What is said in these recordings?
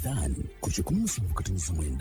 Adhan ku 107.9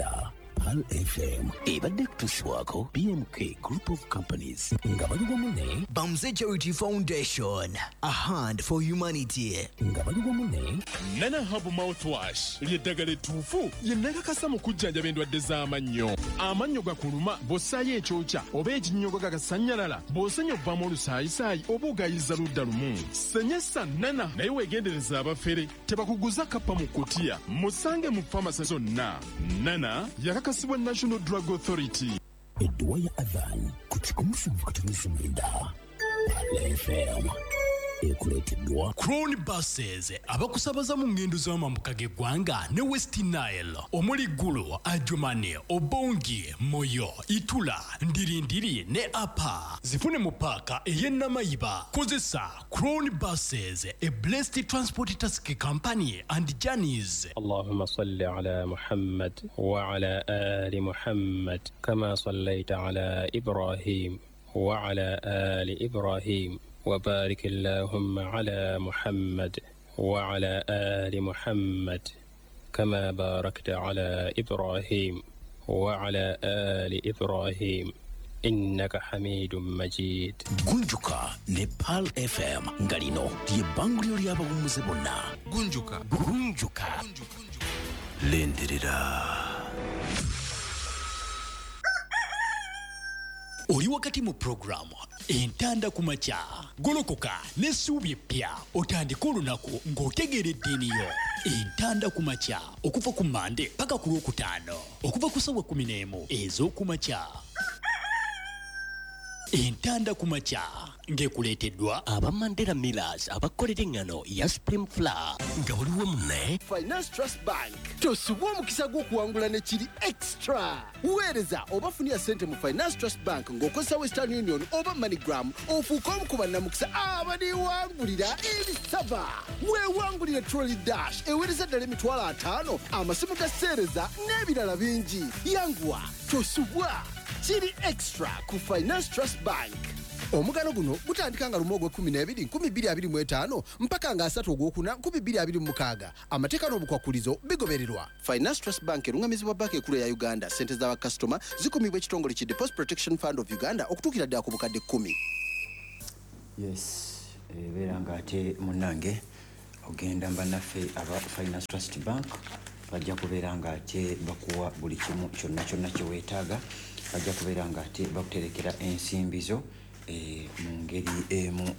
Pearl FM ebadde kutuusibwako BMK Group of Companies nga bali wamu ne Bamze Charity Foundation, a hand for humanity. Nga bali wamu ne Nana Herbal Mouthwash ly'eddagala ettuufu lye nakakasa mu kujjanjaba endwadde z'amannyo. Amannyo gakuluma bw'ossaayo ekyokya oba ekinnyogo gagasannyalala, bw'osenya ovaamu olusaayisaayi oba ogayiza ludda lumu. Senyesa Nana naye weegendereza abafere tebakuguza kappa mu kutiya. Musange mu famasi zonna. Nana yakakasibwa National Drug Authority. Edduwa ya Adhan ku 107.9 Pearl FM ekuleeteddwa Crown Buses abakusabaza mu ngendo z'amambuka g'eggwanga ne West Nile omuli Gulu, Adjumani, Obongi, Moyo, Itula, Ndirindiri ne Apa. Zifune mu paaka ey'e Namayiba. Kozesa Crown Buses, a blessed transport taxi company and journeys. اللهم صل على محمد وعلى آل محمد كما صليت على إبراهيم وعلى آل إبراهيم وبارك اللهم على محمد وعلى آل محمد كما باركت على إبراهيم وعلى آل إبراهيم إنك حميد مجيد. Gunjuka ne Pearl FM nga lino ly'ebbanguliro ly'abawummuze bonna. Gunjuka. Gunjuka. Lindirira. Oli wakati mu puroguramu Entanda ku Makya. Golokoka n'essuubi eppya otandike olunaku ng'otegeera eddiini yo. Entanda ku Makya okuva ku Mande paka ku Lwokutaano okuva ku ssaawa 11 ez'okumakya. Entanda ku Makya ng'ekuleeteddwa aba Mandela Millers abakolera eŋŋano ya Supreme Flour nga buli wamu ne Finance Trust Bank. Tosubwa omukisa gw'okuwangula ne kiri extra. Weereza oba funira ssente mu Finance Trust Bank ng'okozesa Western Union oba MoneyGram ofuuke omu ku bannamukisa abaliwangulira ebisaba. Weewangulire Trolley Dash eweereza ddala 50,000, amasimu ga seereza n'ebirala bingi. Yanguwa, tosubwa. Kiri extra ku Finance Trust Bank. Omugano guno gutandika nga 1 ogw'ekkumi n'ebiri 2025 mpaka nga 3 ogwokuna 2026. Amateeka n'obukwakulizo bigobererwa. Finance Trust Bank erungamizibwa Banka Ekulu eya Uganda. Ssente z'abakasitoma zikumibwa ekitongole ki Deposit Protection Fund of Uganda okutuukira ddala ku bukadde 10. Yes, ebeera ng'ate munnange ogenda bannaffe aba Finance Trust Bank bajja kubeera ng'ate bakuwa buli kimu kyonna kyonna kye weetaaga. Bajja kubeera ng'ate bakuterekera ensimbi zo mu ngeri emu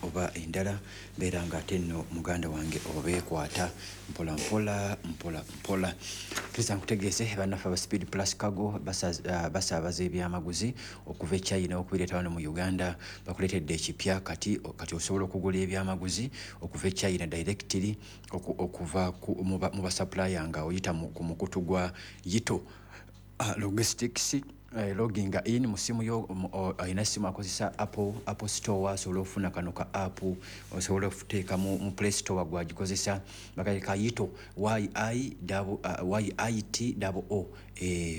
oba endala. Beera ng'ate nno muganda wange obeekwata mpola mpola mpola mpola. Kristo nkutegeeze bannaffe aba Speed Plus Cargo basaabaza ebyamaguzi okuva e China okubireeta wano mu Uganda. Bakuleetedde ekipya kati. Kati osobola okugula ebyamaguzi okuva e China directly okuva mu basupplier nga oyita ku mukutu gwa Yito Logistics. Loginga in mu simu yo. Alina simu akozesa Apple Store asobola okufuna kano ka app. Osobola okuteeka mu Play Store gwagikozesa bakayita Yito, Y I T O O.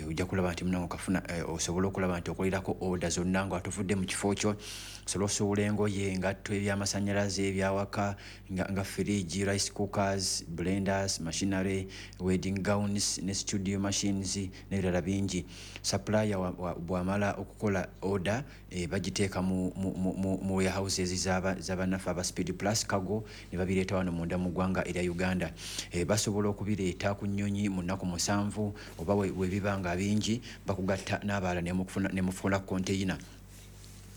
Ojja kulaba nti munange okafuna. Osobola okulaba nti okolerako order zonna nga tovudde mu kifo kyo. Osobola osuubula engoye, engatto, ebyamasanyalaze, ebyawaka nga fridge, rice cookers, blenders, machinery, wedding gowns ne studio machines n'ebirala bingi. Supplier bw'amala okukola order, bagiteeka mu warehouses z'abannaffe aba Speed Plus Cargo ne babireeta wano munda mu ggwanga erya Uganda. Basobola okubireeta ku nnyonyi mu nnaku 7 oba we biba nga bingi bakugatta n'abalala ne mufuna container.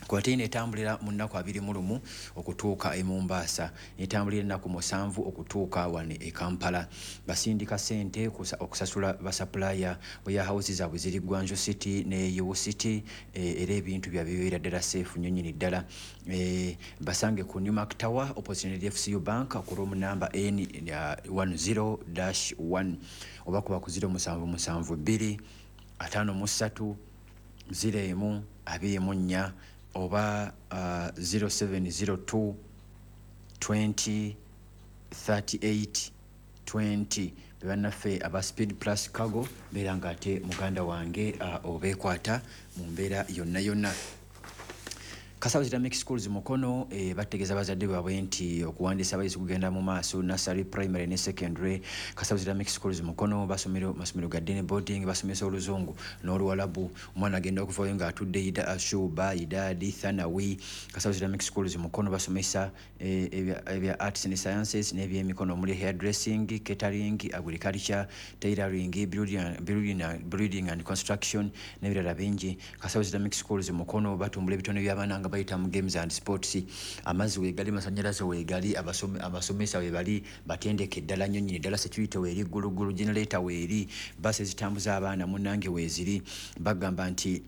Container etambulira mu nnaku 21 okutuuka e Mombasa, etambulira ennaku 7 okutuuka wano e Kampala. Basindika ssente okusasula basupplier. Warehouse zaabwe ziri Guangzhou City ne Yiwu City, era ebintu byabwe bibeera ddala safe nnyo nnyini ddala. Basange ku Newmark Tower opposite ne FCU Bank ku room number N 10-1 oba kuba ku 0772 53 01 24 oba 0702 20 38 20. Bebannaffe aba Speed Plus Cargo. Beera nga ate muganda wange obeekwata mu mbeera yonna yonna. Kasawo Islamic Schools Mukono bategeeza bazadde baabwe nti okuwandiisa abayizi kugenda mu maaso, nursery, primary ne secondary. Kasawo Islamic Schools Mukono basomero masomero ga day boarding, basomesa Oluzungu n'Oluwalabu. Omwana agenda okuvayo ng'atudde ida shuba, idadi, thanawi. Kasawo Islamic Schools Mukono basomesa ebya arts and sciences n'ebyemikono omuli hairdressing, catering, agriculture, tailoring, building and construction n'ebirala bingi. Kasawo Islamic Schools Mukono batumbula ebitone by'abaana nga bayita mu games and sports. Amazzi weegali, masanyalaze weegali, abasomesa webali, batendeke ddala nnyo nnyini ddala. Security weeri ggulugulu, generator weeri, basi ezitambuza abaana munnange weeziri. Bagamba nti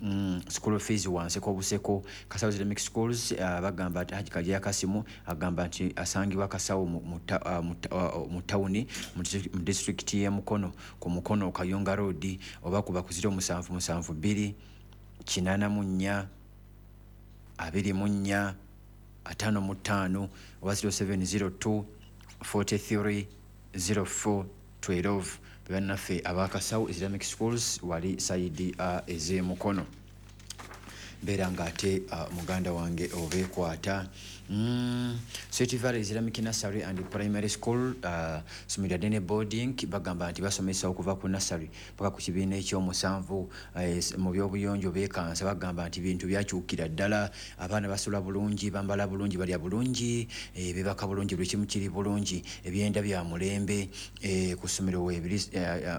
school fees wanseko obuseko. Kasawo Islamic Schools bagamba nti Haji Kajeya Kasimu agamba nti asangibwa Kasawo mu tawuni mu disitulikiti y'e Mukono, ku Mukono Kayunga Road, oba kuba ku 0772 84 24 55 oba 0702 43 04 12. Bannaffe abakasawo Islamic Schools wali side ez'emukono. Mbeera ng'ate muganda wange obeekwata. Sweet Valley Islamic Nursery and Primary School, somero lya day boarding. Bagamba nti basomesa okuva ku nursery paka ku kibiina ekyomusanvu. Mu byobuyonjo beekansa. Bagamba nti bintu byakyukira ddala, abaana basula bulungi, bambala bulungi, balya bulungi, bebaka bulungi, buli kimu kiri bulungi, ebyenda bya mulembe ku ssomero weebiri,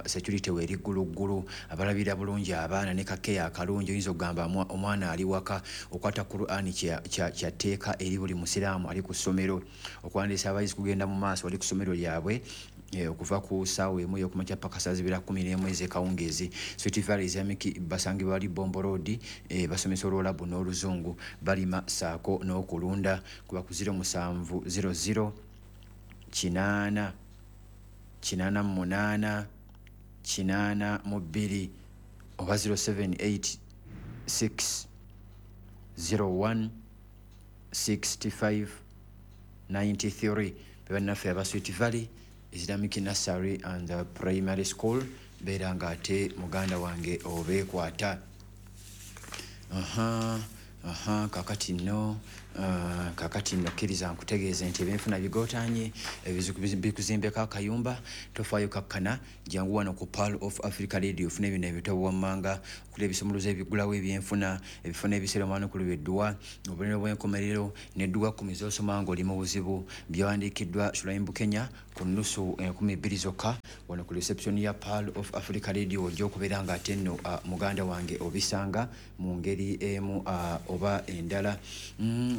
security weeri gguluggulu, abalabira bulungi abaana ne kakeya akalungi, oyinza okugamba omwana ali waka. Okwata Qur'ani kyatteeka eri buli musiraamu ali ku ssomero. Okuwandiisa abayizi kugenda mu maaso wali ku ssomero lyabwe okuva ku ssaawa 1 ey'okumakya paka saa 2:11 ez'ekawungeezi. Sweet Valley Islamic basangibwa wali Bombo Road, basomesa Olwolabu n'Oluzungu, balima saako n'okulunda. Kuba ku 0700 8 88 82 oba 0786 01 65 93. Bebannaffe aba Sweet Valley Islamic Nursery and Primary School. Beera ng'ate muganda wange obeekwata. Aha, aha, kakati nno kkiriza nkutegeeze nti ebyenfuna bigootanye, ebizibu bikuzimbeko akayumba, tofaayo, kakkana, jangu wano ku Pearl of Africa Radio ofune bino ebitabo wammanga okuli ebisumuluzo ebigulawo ebyenfuna, ebifo n'ebiseera omwanukulu edduwa, obubonero bw'enkomerero n'edduwa 10 z'osoma ng'oli mu buzibu, byawandiikiddwa Shulaim Bukenya, ku nnusu 2000 zokka wano ku reception ya Pearl of Africa Radio. Ojja okubeera ng'ate nno muganda wange obisanga mu ngeri emu oba endala.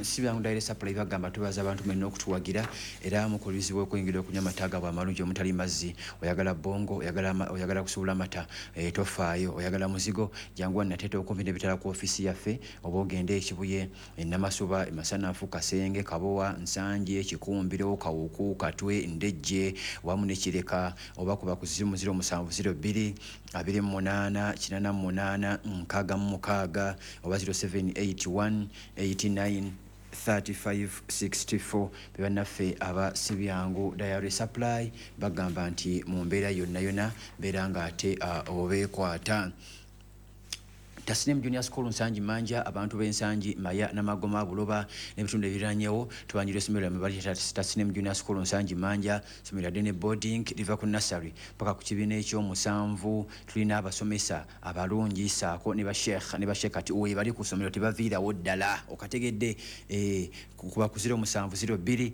Si byangu. Dairy Supply bagamba tubaza abantu mwenna okutuwagira era mukulizibwa okwingira okunywa amata gaabwe amalungi omutali mazzi. Oyagala bongo, oyagala kusuula amata, tofaayo. Oyagala muzigo, jangu wano Nateete okumpi n'ebitala ku ofiisi yaffe, oba ogende Ekibuye, Enamashuba, Emasanafu, Kasenge, Kabowa, Nsanje, Kikumbiro, Kawuku, Katwe, Ndejje wamu ne Kireka, oba kuba ku 0702 28 88 66 oba 0781 89 3564. Bebannaffe aba Sibyangu Dairy Supply bagamba nti mu mbeera yonna yonna mbeera ng'ate obeekwata. Tasnim Junior School Nsangi Manja, abantu b'Ensangi, Maya, Namagoma, Buloba n'ebitundu ebiriranyewo, tubanjira essomero lyammwe bali Tasnim Junior School Nsangi Manja. Ssomero lya day boarding, liva ku nursery paka ku kibiina ekyomusanvu. Tulina abasomesa abalungi saako ne basheekh ne basheekati we bali ku ssomero, tebaviirawo ddala. Okategedde? Kuba ku 0702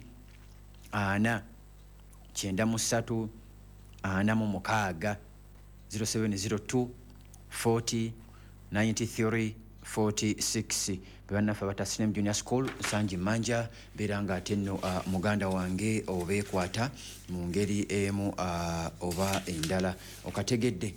4 93 46, 0702 40 93 46. Bebannaffe aba Tasnim Junior School Nsangi Manja. Beera nga ate nno muganda wange obeekwata mu ngeri emu oba endala. Okategedde?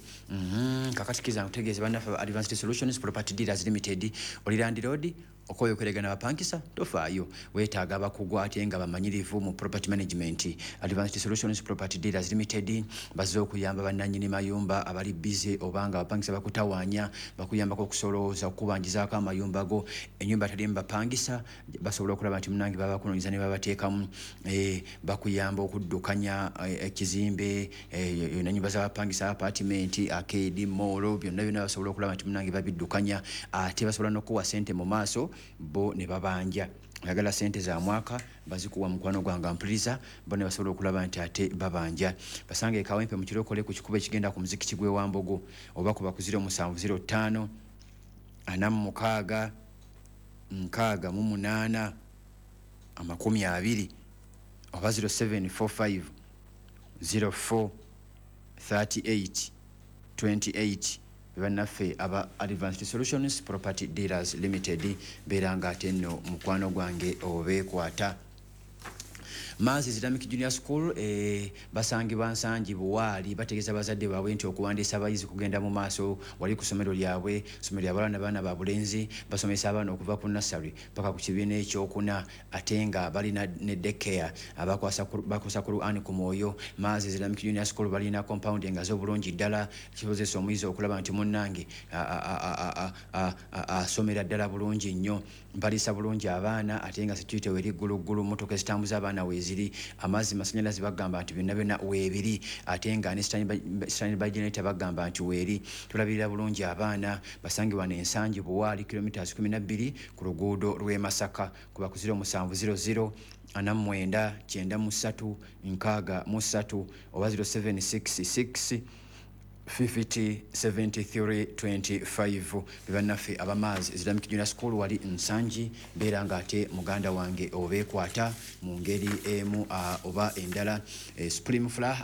Kakati kiza nkutegeeze bannaffe aba Advanced Solutions Property Dealers Limited. Oli landlord, okoyo okweregana bapangisa, tofaayo, weetaaga abakugu ate nga bamanyirivu mu property management. Advanced Solutions Property Dealers Limited bazze okuyamba bannannyini mayumba abali busy oba nga abapangisa bakutawaanya. Bakuyambako okusolooza, okukubanjizaako amayumba go. Ennyumba talimu bapangisa, basobola okulaba nti munange babakunoonyeza ne babateekamu. Bakuyamba okuddukanya ekizimbe, yonna nyumba z'abapangisa, apartment, arcade, mall, byonna byonna basobola okulaba nti munange babiddukanya. Ate basobola n'okuwa sente mu maaso. Bo ne babanja. Oyagala sente za mwaka, bazikuwa mukwano gwange mpuliriza. Bo ne basobola okulaba nti ate babanja. Basange Kawempe mu Kirokole, ku kikubo ekigenda ku muzikiti gw'e Wambogo, oba kuba ku 0705 46 68 20, oba 0745 04 38 28. Bannaffe aba Advanced Solutions Property Dealers Limited, beera nga ate nno mukwano gwange obeekwata. Maazi Islamic Junior School, basangibwa Nsangi Buwaali. Bategeeza bazadde baabwe nti okuwandiisa abayizi kugenda mu maaso wali ku ssomero lyabwe. Ssomero ly'abaana, baana ba bulenzi. Basomesa abaana okuva ku nursery paka ku kibiina ekyokuna, ate nga balina ne daycare. Bakwasa Quran ku mwoyo. Maazi Islamic Junior School balina compound engazi obulungi ddala, kisobozesa omuyizi okulaba nti munnange asomera ddala bulungi nnyo. Baliisa bulungi abaana, ate nga security weri gguluggulu. Motoka ezitambuza abaana weeziri, amazzi, masanyalaze, bagamba nti byonna byonna weebiri, ate nga ne standby generator bagamba nti weeri. Tulabirira bulungi abaana. Basangibwa n'Ensangi Buwaali, kilometers 12 ku luguudo lw'e Masaka. Kuba ku 0700 49 93 63 oba 0766 50 73 25. Bebannaffe abamaazi Islamic Junior School wali Nsangi. Beera nga ate muganda wange obeekwata mu ngeri emu oba endala. Supreme Flour,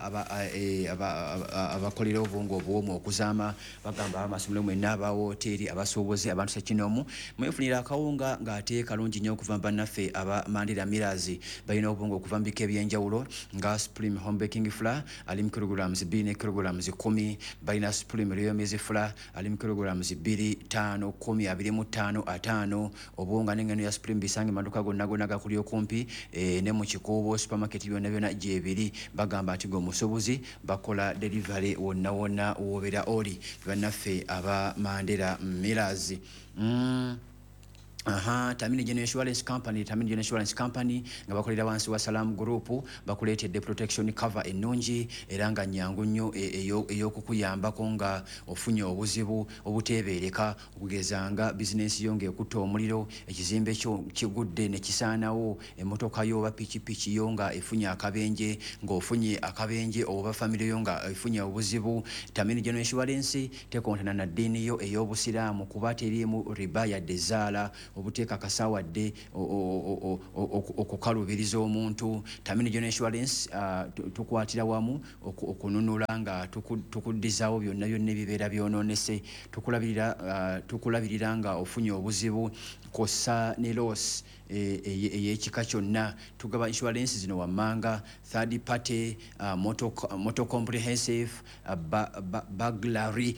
abakolera obwongo obuwomu okuzaama, bagamba amasomero mwenna, abawoteeri, abasuubuzi, abantu sekinoomu, mwefunira akawunga ng'ate kalungi nnyo okuva bannaffe aba Mandela Millers. Balina obwongo okuva mu bika ebyenjawulo nga Supreme Home Baking Flour ali mu kilograms 2 ne kilograms 10. Balina Supreme Royal Maize Flour ali mu kilograms 2, 5, 10, 25, 50. Obuwunga n'engano ya Supreme bisange maduka gonna gonna gakuli okumpi, ne mu Kikuubo supermarket, byonna byonna gyebiri. Bagamba nti gwe bakola delivery wonna wonna wobeera oli. Bannaffe aba Mandela Millers. Aha, Tamini General Insurance Company, Tamini General Insurance Company nga bakolera wansi wa Salam Group, bakuleetedde protection cover ennungi era nga nyangu nnyo ey'okukuyambako nga ofunye obuzibu obuteebeereka, okugeza nga bizinensi yo ng'ekutta omuliro, ekizimbe kyo kigudde ne kisaanawo, emmotoka yo oba pikipiki yo nga efunye akabenje, ng'ofunye akabenje oba famire yo nga efunye obuzibu. Tamini General Insurance tekontana na ddiini yo ey'Obusiraamu, kuba teriimu riba yadde zaala, obuteekakasa wadde okukalubiriza omuntu. Tamini General Insurance, tukwatira wamu okununula nga tukuddizaawo byonna byonna ebibeera byonoonese. Tukulabirira nga ofunye obuzibu kw'ossa ne loss ey'ekika kyonna. Tugaba insurance zino wammanga: third party, motor comprehensive, burglary,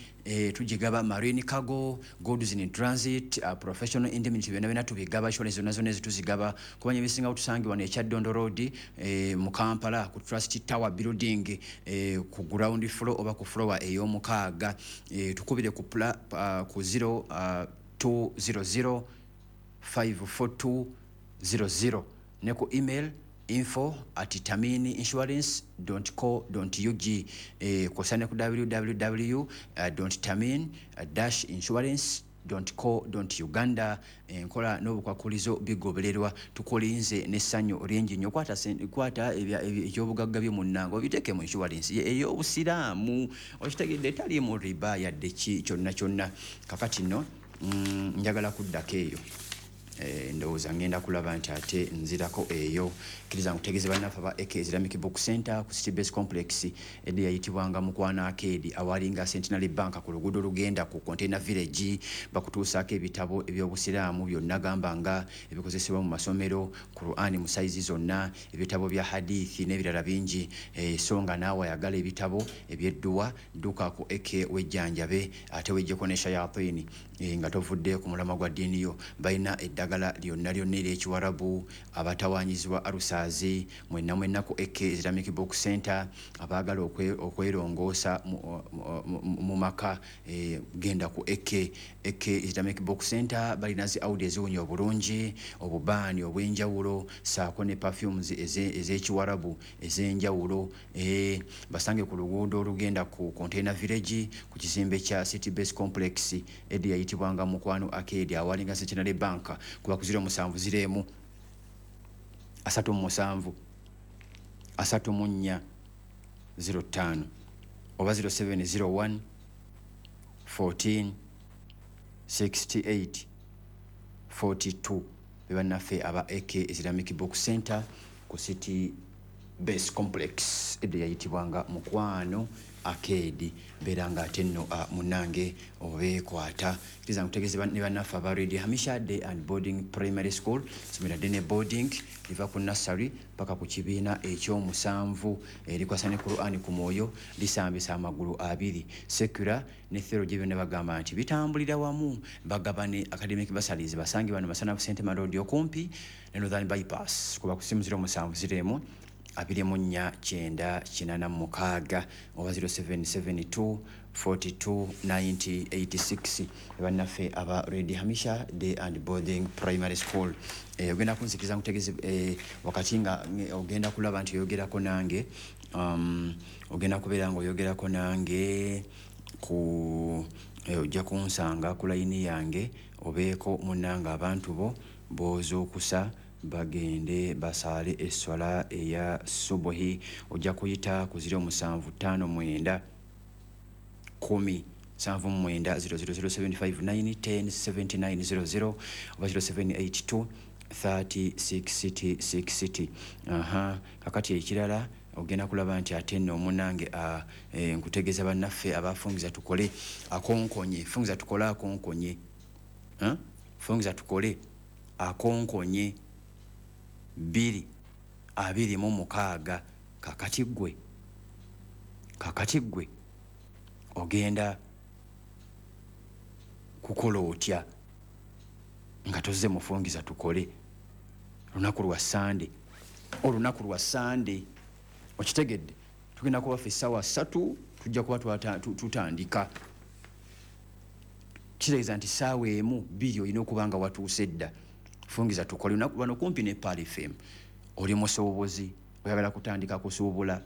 tugigaba, marine cargo, goods in transit, professional indemnity, byonna byonna tubigaba. Insurance zonna zonna ezituzigaba. Kubanya ebisingawo, tusangibwa e Kyaddondo Road, mu Kampala, ku Trust Tower building, ku ground floor oba ku floor ey'omukaaga. Tukubire ku 0 200 542 00 ne ku email info@tamininsurance co ug, kwosa ne ku www tamin insurance co uganda. Enkola n'obukwakulizo bigobererwa. Tukulinze n'essanyu lingi nnyo. Kwata ebyobugagga byo munnange, obiteeke mu insurance ey'Obusiraamu, okitegedde, taliimu riba yadde ki kyonna kyonna. Kakati nno, njagala kuddako eyo. Ndowooza ngenda kulaba nti ate nzirako eyo. Kkiriza nkutegeeze bannaffe aba AK Islamic Book Center ku City Base Complex, edda yayitibwanga Mukwano Arcade, awalinga Centenary Bank ku luguudo lugenda ku Container Village. Bakutuusaako ebitabo ebyobusiraamu byonna, gamba nga ebikozesebwa mu masomero, Qur'ani mu sayizi zonna, ebitabo bya hadithi n'ebirala bingi. So nga naawe ayagala ebitabo ebyedduwa, dduka ku AK wejjanjabe ate wejjeko ne shayatini, nga tovudde ku mulamwa gwa ddiini yo. Balina eddagala lyonna lyonna ery'ekiwarabu, abatawanyizibwa alusaazi, mwenna mwenna ku AK Islamic Book Center. Abaagala okwerongoosa mu maka, genda ku AK Islamic Book Center. Balina zi audi eziwunya obulungi, obubaani obw'enjawulo, saako ne perfumes ez'ekiwarabu ez'enjawulo. Basange ku luguudo olugenda ku Container Village, ku kizimbe kya City Base Complex, edda yayitibwanga Mukwano Arcade, awalinga Centenary Bank. Kuba ku 0701 37 34 05 oba 0701 14 68 42. Bebannaffe aba AK Islamic Book Center ku City Base Complex, edda yayitibwanga Mukwano Arcade. Beera nga ate nno munnange obeekwata. Kiriza nkutegeeze ne bannaffe aba Radio Hamisha Day and Boarding Primary School, somero ddene boarding, liva ku nursery paka ku kibiina ekyomusanvu, erikwasa ne Qur'an ku mwoyo, lisambisa amagulu abiri. Secular ne theology byonna bagamba nti bitambulira wamu. Bagabane academic bursaries. Basange bano Masanafu Sentema Road, okumpi ne Northern Bypass. Kuba ku simu 0701 24 986 oba 0772 42 90 86. Bannaffe aba Redi Hamisha Day and Boarding Primary School. Ogenda kunzikiriza nkutegeze wakati nga ogenda kulaba nti oyogerako nange, ogenda kubeera nga oyogerako nange ku ojja kunsanga ku layini yange, obeeko munnange abantu bo b'ozuukusa bagende basaale esswala eya subuhi. Ojja kuyita ku 0759 10 79 000 759 10 79 00 oba 0782 30 60 60. Aha, kakati ekirala ogenda kulaba nti ate nno omunange nkutegeeza bannaffe abafungiza tukole akonkonye, fungiza tukole akonkonye, fungiza tukole akonkonye 226. Kakati ggwe ogenda kukola otya nga tozze mufungiza tukole olunaku lwa Sande? Olunaku lwa Sande, okitegedde, tugenda kuba ffe essaawa 3 tujja kuba tutandika. Kitegeeza nti ssaawa 1 2 olina okuba nga watuuse dda. Fungiza tukole olunaku lwano kumpi ne Pearl FM. Oli musuubuzi, oyagala kutandika kusuubula,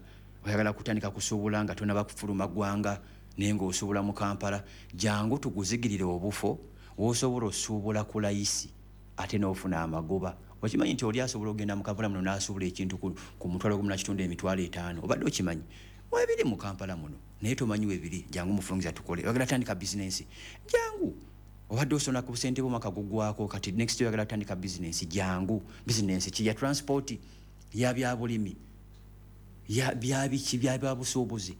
oyagala kutandika kusuubula nga tonaba kufuluma ggwanga naye ng'osuubula mu Kampala, jangu tukuzigirire obufo w'osobola osuubula ku layisi ate n'ofuna amagoba. Okimanyi nti oli asobola okugenda mu Kampala muno n'asuubula ekintu ku 1,500 5,000? Obadde okimanyi? Webiri mu Kampala muno naye tomanyi webiri. Jangu mufungiza tukole. Oyagala tandika bizinensi, jangu. Obadde osona ku busente bw'omwaka gugwako, kati next year oyagala tandika bizinensi, jangu. Bizinensi ki? Ya transport, ya byabulimi, ya byabiki, bya byabusuubuzi.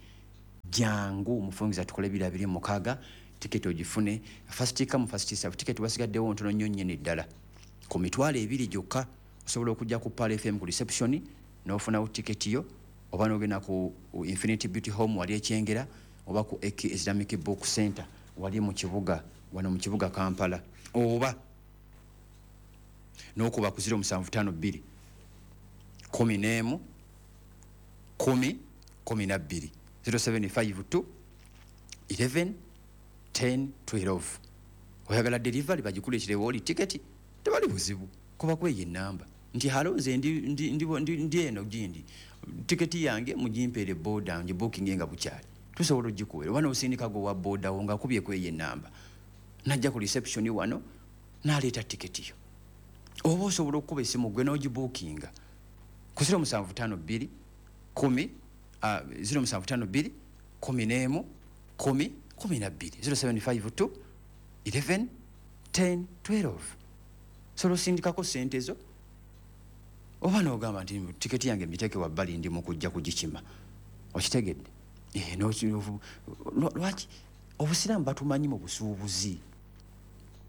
Jangu mufungiza tukole 226. Tiketi ogifune first come first serve. Tiketi wasigaddewo ntono nnyo nnyini ddala, ku 20,000 gyokka. Osobola okujja ku Pearl FM ku reception n'ofunawo tiketi yo, oba n'ogenda ku Infinity Beauty Home wali Ekyengera, oba ku AK Islamic Book Center wali mu kibuga wano mu kibuga Kampala, oba n'okuba ku 0752 11 10 12 0752 11 10 12. Oyagala delivery bagikuleeterewo oli tiketi, tebali buzibu. Kuba kweyo enamba nti halo, nze ndi eno gindi, tiketi yange mugimpeere boda ngibookinge nga bukyali, tusobola ogikuweera. Oba n'osindika gwe wa boda wo ng'akubye kweyo enamba, najja ku reception wano n'aleeta tiketi yo. Oba osobola okukuba essimu gwe n'ogibookinga ku 0752 10 0752 11 10 12 0752 11 10 12. Sobola osindikako ssente zo, oba n'ogamba nti tiketi yange mbiteeke wabbali, ndi mu kujja kugikima. Okitegedde? Lwaki obusiraamu batumanyi mu busuubuzi?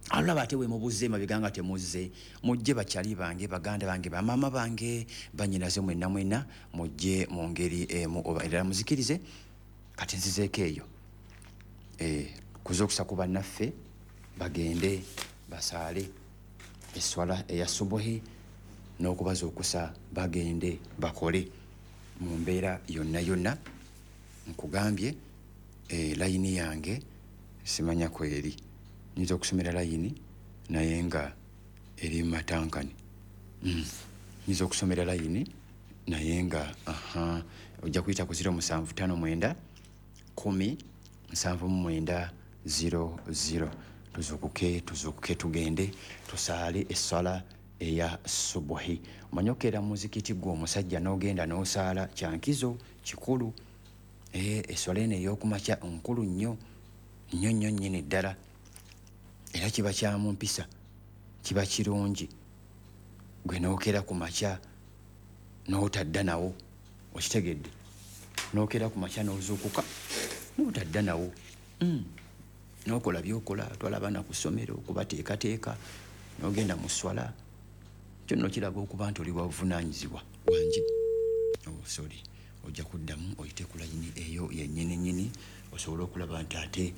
Alaba ate wemubuze emabega nga temuzze, mujje bakyali bange, baganda bange, bamaama bange, bannyinaze, mwenna mwenna mujje mu ngeri emu oba endala muzikirize. Kati nzizeeko eyo kuza okusa ku bannaffe bagende basaale esswala eya subuhi n'okubaza okusa bagende bakole mu mbeera yonna yonna. Nkugambye layini yange simanya kweri, nyinza okusomera layini naye nga eri matankani. Nyinza okusomera layini naye nga aha, ojja kuyita ku 0759 10 79 00. Tuzukuke, tuzukuke, tugende tusaale essala eya subuhi. Omanyi okeera muzikiti gwe omusajja n'ogenda n'osaala, kyankizo kikulu. Esswala eno ey'okumakya nkulu nnyo nnyo nnyo nnyini ddala, era kiba kya mu mpisa, kiba kirungi gwe n'okeera ku makya n'otadda nawo. Okitegedde? N'okeera ku makya n'ozuukuka n'otadda nawo, n'okola by'okola, twala abaana ku ssomero okubateekateeka, n'ogenda mu sswala. Kyo nno kiraga okuba nti oli wabuvunaanyizibwa. Wangi? Oh, sorry, ojja kuddamu oyite ku layini eyo yennyini nnyini, osobole okulaba nti ate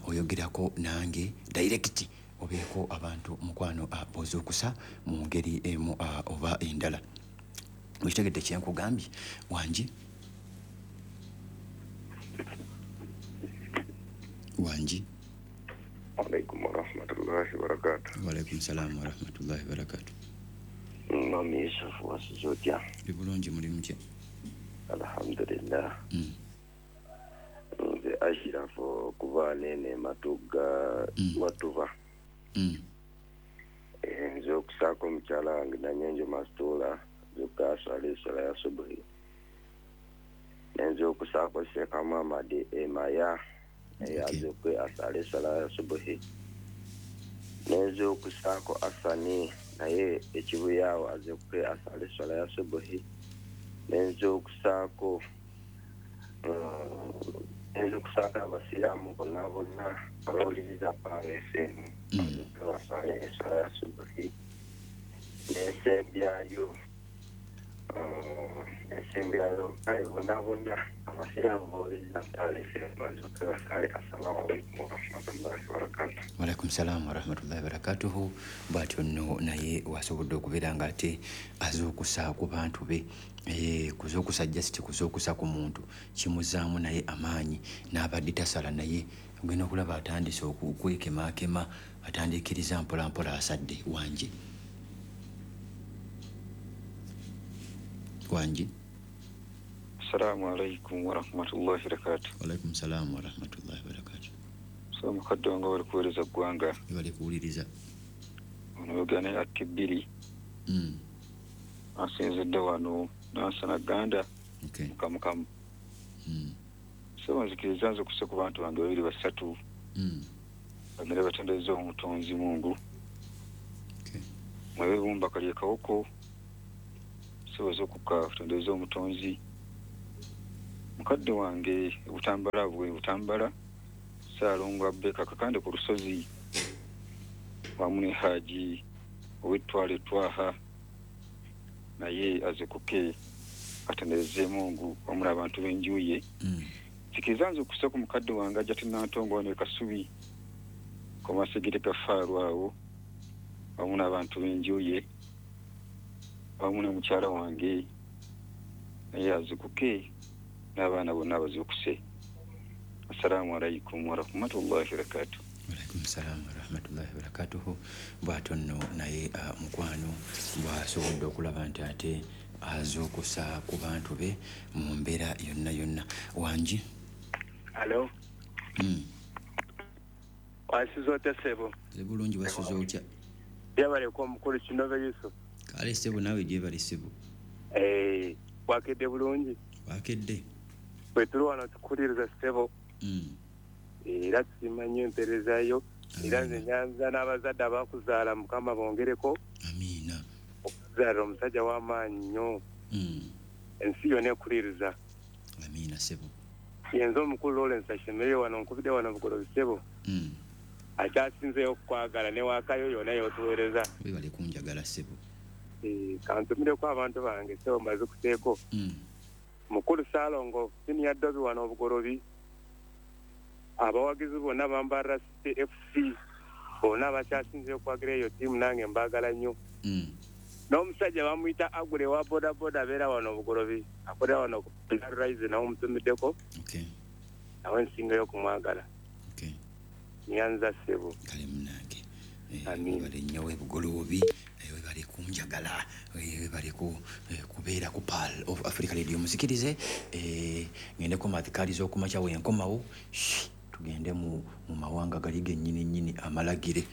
oyogerako nange direct, obeeko abantu mukwano b'ozuukusa mu ngeri emu oba endala. Okitegedde kyenkugambye? Wangi? Wangi? Alaikum warahmatullahi wabarakatuh. Waalaikum salaamu warahmatullahi wabarakatuh. Mami Yusufu, wasuze otya? Ndi bulungi, muli mutya? Alhamdulillah. Nze Ashirafu okuva nene Matugga, Watuva. Nze okusaako mukyala wange Nanyenjo Masitula zokka aswala esswala ya subuhi. Nenze okusaako Sheikh Muhammad Emaya naye azokwe asala esswala ya subuhi. Nenze okusaako Asani naye ekibuyaawo azokwe asala esswala ya subuhi. Nenze okusaako abasiraamu bonna bonna abawuliriza Pearl FM azokwe basale esswala ya subuhi. Nensembyayo kale bonna bonna abasiraamu bawuliriza Pearl FM bazokwe basale. Assalamu alaikum warahmatullahi wabarakatuh. Waalaikum salaamu warahmatullahi wabarakatuhu. Bw'atyo nno naye wasobodde okubeera nga ate azuukusa ku bantu be. Kuzuukusa just kuzuukusa ku muntu kimuzaamu naye amaanyi, n'abadde tasala naye ogenda okulaba atandise okwekemaakema, atandiikiriza mpola mpola asadde. Wangi? Wangi? Assalamu alaikum warahmatullahi wabarakatuh. Waalaikum salaamu warahmatullahi wabarakatuh. So mukadde wange bali kuweereza ggwanga, bali kuwuliriza. Ono ne Akibiri asinzidde wano Nansana Ganda mukamukamu. So nzikiriza nze okussa ku bantu bange babiri basatu, bagende batendereza omutonzi Mungu. Mwebumba kalye kawoko soboza okuka kutendereza omutonzi. Mukadde wange Butambala bwe Butambala Ssaalongo Abeka Kakande ku lusozi wamu ne Haji ow'ettwale Twaha naye azukuke atendereze Mungu wamu n'abantu b'enju ye. Nzikiriza nze okussa ku mukadde wange ajja Nantongo wano e Kasubi ku Masigiri Gafaaru awo wamu n'abantu b'enju ye wamu ne mukyala wange naye azukuke n'abaana bonna bazuukuse. Assalamu alaikum warahmatullahi wabarakatuh. Waalaikum salaamu warahmatullahi wabarakatuhu. Bw'atyo nno naye mukwano bw'asobodde okulaba nti ate azuukusa ku bantu be mu mbeera yonna yonna. Wangi? Alo. Wasuze otya ssebo? Nze bulungi, wasuze otya? Gyebaleko omukulu Kinove Yusuf. Kale ssebo, naawe gyebale ssebo. Wakedde bulungi? Wakedde. Bwe tuli wano tukuliriza ssebo. Era tusiima nnyo empeereza yo. Era nze nyanza n'abazadde abakuzaala, Mukama bongereko. Amiina. Okuzaala omusajja w'amaanyi nnyo. Ensi yonna ekuliriza. Amiina ssebo. Yenze omukulu Lawrence Ashemerere wano nkubidde wano Bugolobi ssebo. Akyasinzeeyo okukwagala ne waakayo yonna y'otuweereza. Webale kunjagala ssebo. Kantumireko abantu bange ssebo mbazikuseeko. Mukulu Ssaalongo Senior Dobi wano Obugolobi, abawagizi bonna bambarra City FC bonna abakyasinzeeyo okwagira eyo ttiimu nange mbaagala nnyo. N'omusajja bamuyita Agule wa bodaboda abeera wano Obugolobi, akolera wano ku Rise, nawe omutumiddeko. Nawe nsingayo okumwagala. Nyanza ssebo. Kale munnange, webale nnyo w'Ebugoloobi, webale kunjagala, webale kubeera ku Pearl of Africa Radio. Muzikirize ngendeko mathikaali z'okumakya, wenkomawo Tugende mu mawanga gali gennyini nnyini amalagire.